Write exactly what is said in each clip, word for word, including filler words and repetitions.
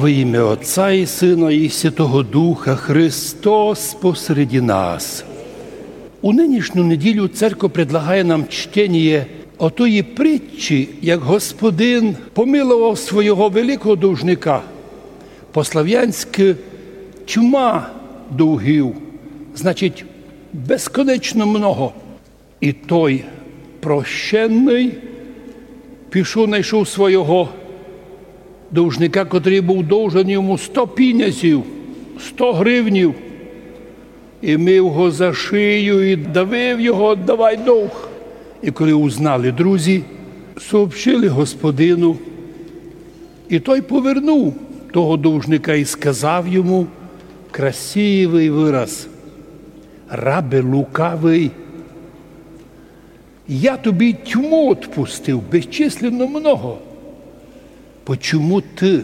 Во имя Отца и Сына и Святого Духа. Христос посреди нас. У нынішню неділю церква предлагає нам чтеніє отої притчі, як Господин помиловав свого великого должника. По-славянськы тьма долгів, значить, безконечно много. И той прощенный пішов, найшов свого должника, котрый быв должен йому сто пінязів, сто гривнів, и мив го за шию, и давив його: «Давай долг». И коли узнали друзі, сообщили господину, и той повернув того должника и сказав йому красивый выраз: «Рабе лукавый, я тобі тьму отпустив безчисленно много. Почому ты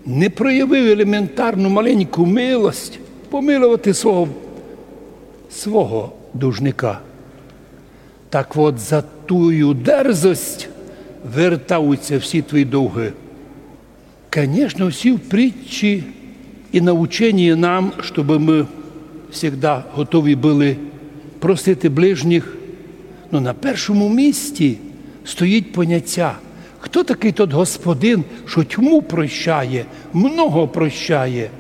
не проявив елементарну маленьку милость помиловати свого, свого должника?» Так от, за тую дерзость вертаються всі твої долги. Конечно, всі притчі и наученіє нам, щоб мы всегда готові были простити ближніх. Но на першому місці стоїть поняття, хто такый тот Господин, што тьму прощає, много прощає?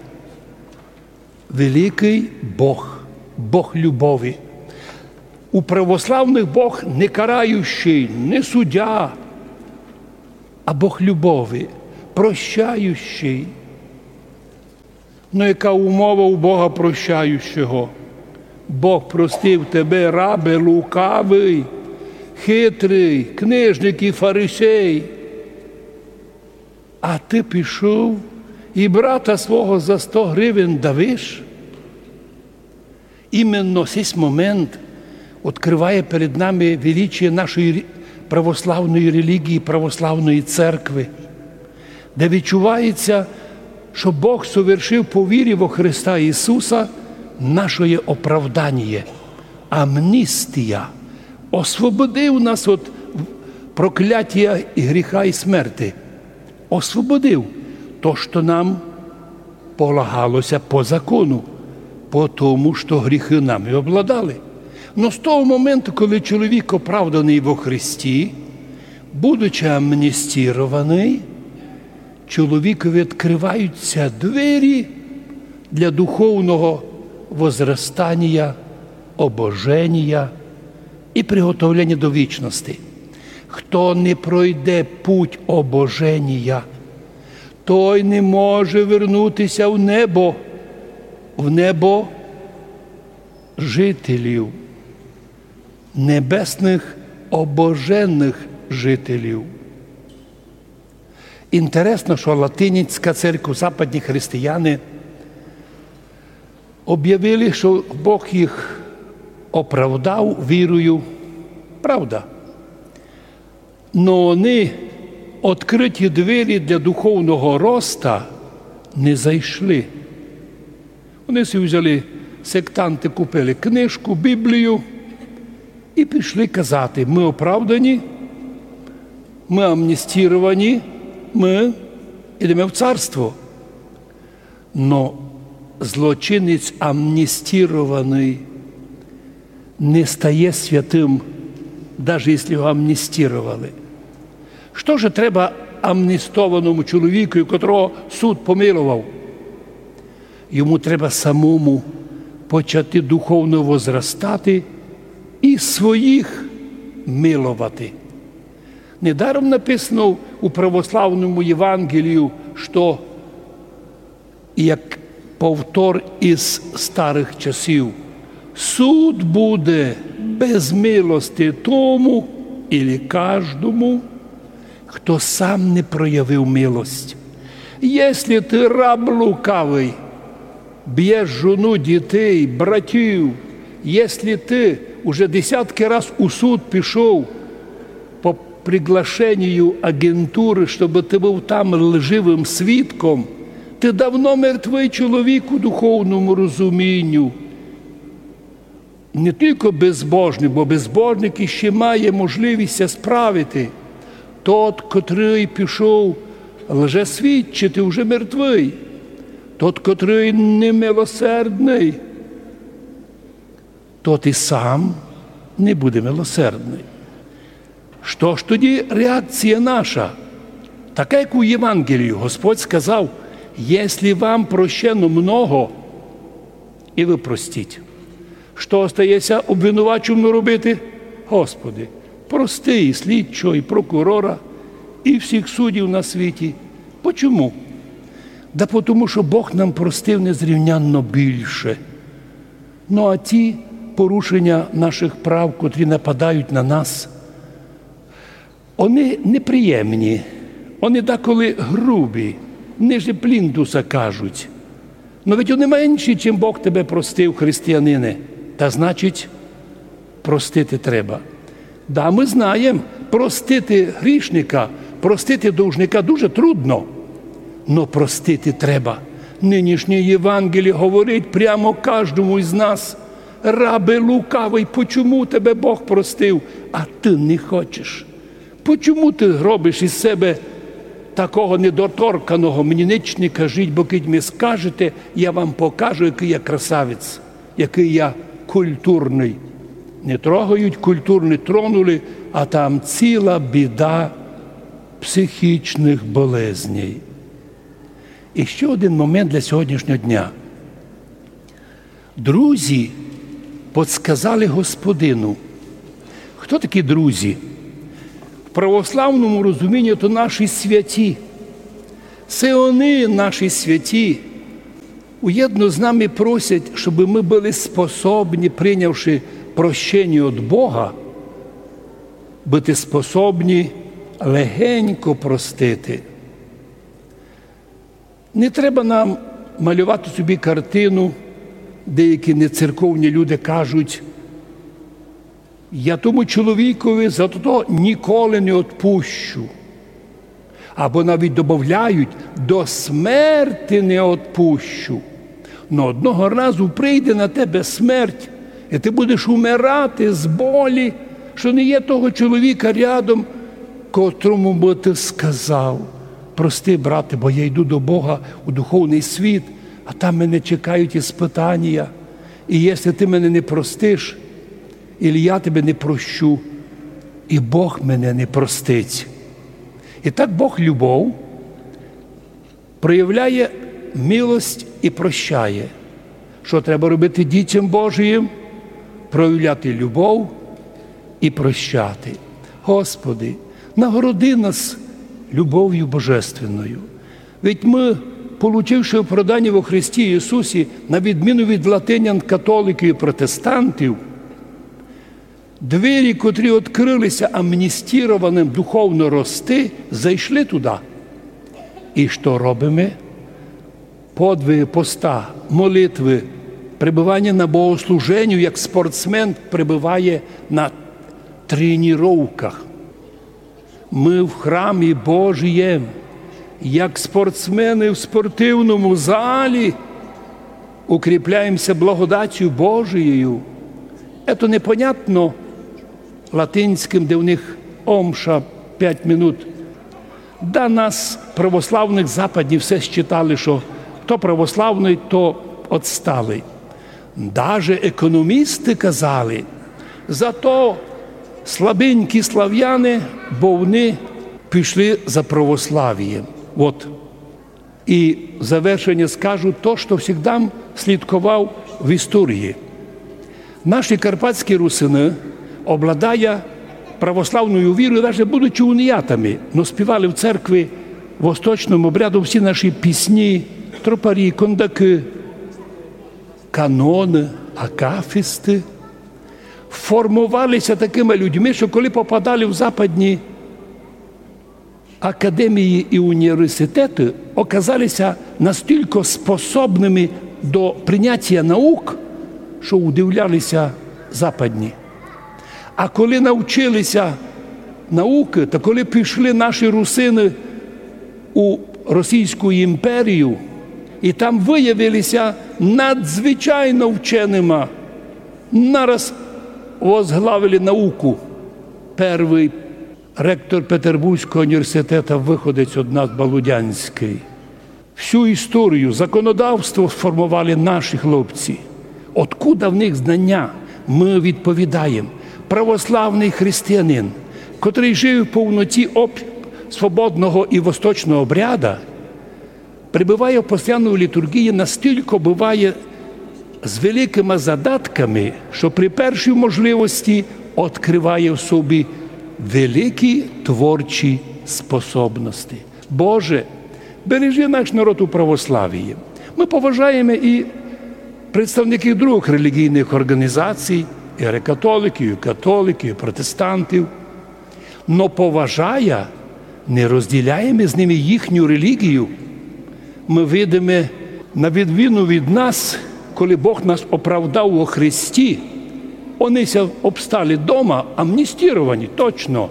Великый Бог, Бог любові. У православных Бог не карающий, не суддя, а Бог любові, прощающий. Но яка умова у Бога прощающого? Бог простив тебе, рабе лукавый, хитрый, книжник и фарисей. А ты пішов и брата свого за сто гривень давиш? Именно сись момент открыває перед нами величіє нашої рі-, православної релігії, православної церкви, де відчувається, што Бог совершив по вірі во Христа Ісуса нашоє оправданіє, амністія, освободив нас од проклятія и гріха и смерти. Освободив то, што нам полагалося по закону, по тому, што гріхы нами обладали. Но з того моменту, коли чоловік оправданый во Христі, будучи амністірованый, чоловікові відкрываються двері для духовного возрастанія, обоженія и приготовлення до вічности. Хто не пройде путь обоженія, той не може вернутися в небо, в небо жителів, небесных обоженых жителів. Інтересно, што латинська церква, западні християни обявили, што Бог їх оправдав вірою. Правда. Но они открыті двері для духовного роста не зайшли. Они си взяли, сектанты купили книжку, Біблію и пішли казати: «Мы оправдані, мы амністіровані, мы идеме в царство». Но злочинець амністірованый не стає святым, даже если його амністіровали. Што же треба амністованому чоловікові, котрого суд помиловав? Йому треба самому почати духовно возрастати и своїх миловати. Недаром написано у православному Євангелію, што як повтор из старых часів: «Суд буде без милости тому или каждому, хто сам не проявив милость». Если ты раб лукавый, бьєш жону, дітей, братів, если ты уже десятки раз у суд пішов по приглашенію агентуры, щоб ты быв там лживым свідком, ты давно мертвый чоловік у духовному розумінню. Не тілько безбожник, бо безбожник іщи має можливість ся справити. Тот, котрый пішов Лжесвідчитель уже мертвый, тот, котрый немилосердный, тот і сам не буде милосердный. Што ж тоді реакція наша? Така, як у Євангелії, Господь сказав: «Єслі вам прощено много, і вы простіть». Што остається обвинуваченому робити? Господи, прости і слідчого, і прокурора, і всіх суддів на світі. Почому? Да потому, што Бог нам простив незрівнянно більше. Ну, а ті порушення наших прав, котрі нападають на нас, они неприємні, они деколи грубі, ниже плінтуса кажуть. Но ведь они менші, чим Бог тебе простив, християнине. Та значить, простити треба. Да, мы знаєм, простити грішника, простити должника дуже трудно. Но простити треба. Нынішнє Євангеліє говорить прямо каждому із нас: «Рабе лукавый, почому тебе Бог простив, а ты не хочеш? Почому ты робиш із себе такого недоторканого? Мені нич не кажіть, бо кидь ми скажете, я вам покажу, якый я красавець, якый я культурный». Не трогають культурный, тронули, а там ціла біда психічных болезней. І ще один момент для сьогоднішнього дня. Друзі подсказали Господину. Хто такі друзі? В православному розумінні то наші святі. Се они, наші святі, уєдно з нами просять, щоб мы были способні, прийнявши прощення від Бога, быти способні легенько простити. Не треба нам малювати собі картину, деякі нецерковні люди кажуть: «Я тому чоловікові за то ніколи не одпущу». Або навіть добавляють: «До смерти не одпущу». Но одного разу прийде на тебе смерть, і ти будеш умирати з болі, що не є того чоловіка рядом, котрому бы ти сказав: «Прости, брате, бо я йду до Бога у духовный світ, а там мене чекають іспытанія. І якщо ти мене не простиш, і я тебе не прощу, і Бог мене не простить». І так Бог любов проявляє милость і прощає. Що треба робити дітям Божиїм? Проявляти любов і прощати. Господи, нагороди нас любов'ю божественною. Ведь мы, получивши оправдання во Христі Ісусі, на відміну від латинян, католиків і протестантів, двері, котрі відкрылися амністірованым духовно рости, зайшли туды. І што робиме? Подвиги поста, молитвы, пребывання на богослуженню, як спортсмен пребыває на тренировках. Мы в храмі Божиєм, як спортсмены в спортивному залі, укріпляємся благодатью Божиєю. Ето непонятно латинськым, де в них омша пять минут. Да нас, православных, западні все считали, што то православный, то отсталый. Даже економісты казали: «Зато слабенькі славяне, бо вони пішли за православієм». Вот. І в завершення скажу то, што всегда слідковав в історії. Наші карпатські русины, обладая православною вірою, даже будучи уніатами, но співали в церкви восточным обрядом всі наші пісні, тропарі, кондакы, каноны, акафісты. Формовалися такыма людьми, што коли попадали в западні академії і університеты, оказалися настілько способными до принятія наук, што удивлялися западні. А коли навчилися наукы, та коли пішли наші русины у Російську імперію, і там выявилися надзвичайно вченыма, нараз возглавили науку. Первый Ректор Петербурзького університета, выходець од нас, Балудянськый. Всю історію, законодавство сформовали наші хлопці. Откуда в них знання? Мы відповідаєм. Православный християнин, котрый жив в повноті об-, свободного і восточного обряда, пребыває в постоянній літургії, настілько быває з великыма задатками, што при першій можливості открыває в собі великі творчі способности. Боже, бережи наш народ у православії. Мы поважаєме і представників другых релігійных орґанізацій, і греко-католиків, і католиків, і протестантів. Но поважая, не розділяєме з ними їхню релігію. Мы видиме, на відміну від нас, коли Бог нас оправдав во Христі, они ся обстали дома, амністіровані, точно.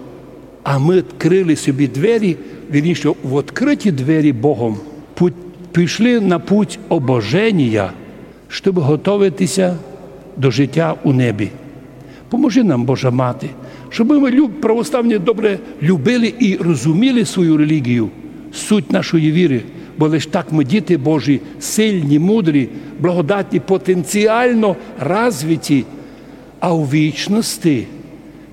А мы відкрыли собі двері, вірніше, в відкрыті двері Богом путь, пішли на путь обоженія, щоб готовити ся до життя у небі. Поможи нам, Божа Мати, щоб мы люб-, православні добре любили і розуміли свою релігію, суть нашої віры, бо лиш так мы, діти Божі, сильні, мудрі, благодатні, потенціално развиті, а у вічности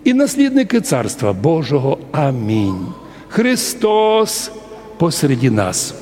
і наслідникы Царства Божого. Амінь. Христос посереді нас.